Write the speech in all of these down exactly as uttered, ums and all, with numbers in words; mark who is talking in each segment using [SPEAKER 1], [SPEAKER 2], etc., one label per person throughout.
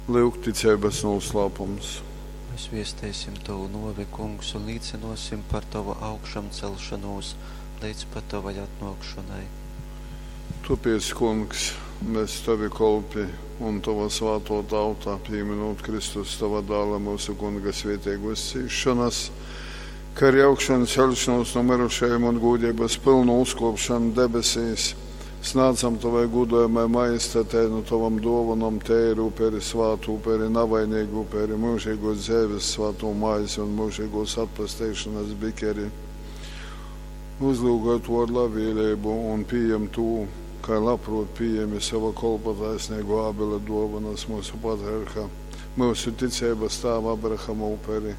[SPEAKER 1] Lyuk ticeibas nūslāpums.
[SPEAKER 2] Mēs viesteisim tovu nōvi, Kungs, un līcynōsim par tovu augšamcelšonūs leidz pat tovai atnōkšonai.
[SPEAKER 1] Tōpēc, Kungs, mes, tovi kolpi un tova svātō tauta, pīmynūt Kristus, tova Dāla, myusu Kunga svēteigōs cīsšonas, kai arī augšanceļšanos nu myrušajim un gūdeibas pylnu uzkōpšonu debesīs, snādzam tovai gūdojamai majestatei nu tovom dōvonom teiru uperi, svātu uperi, navaineigu uperi, myužeigōs dzeives svātū maizi un myužeigōs atpesteišonas bikeri. Uzlyugoj tū ar labvēlību un pījem tū, kai labprōt pījemi sova kolpa taisneigō Ābela dōvonas myusu patriarha, myusu ticeibas tāva Abrahama uperi,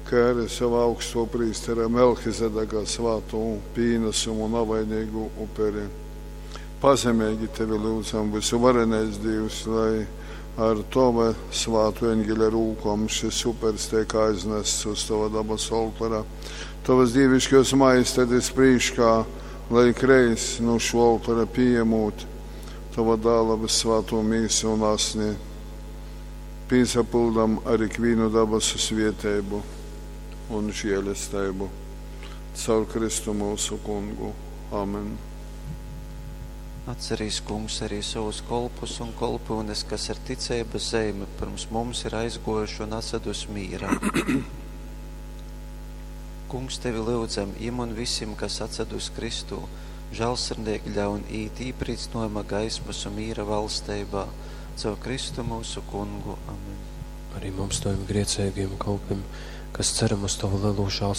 [SPEAKER 1] kai arī sova augstō prīstera Melchizedeka svātū pīnasumu navainīgu uperi. Pazemeigi tevi lyudzam, vysuvarenais Dīvs, lai ar tova svātu eņgeļa rūkom šis upers teik aiznests uz tova dabasu oltora, tovas dīviškos majestatis prīškā, lai ikreiz nu šo oltora pījemūt tova dāla vyssvātū mīsu un asni, pīsapyldam ar ikvīnu dabasu svieteibu un žēlesteibu. Caur Kristu mūsu kungu. Amen.
[SPEAKER 2] Atcerīs, Kungs, arī savus kolpus un kolpyunes, kas ar ticeibas zeimi pirms mums ir aizgōjuši un atsedus mīrā. Kungs, tevi lyudzam, jim un visim, kas atsedus Kristū, žālsirdīgi ļaun īt īprīcynojuma gaismas un mīra valsteibā, caur Kristu mūsu kungu. Amen.
[SPEAKER 3] Arī mums, taviem grēcīgiem kalpiem, kas ceram uz tavu lielo žēlsirdību.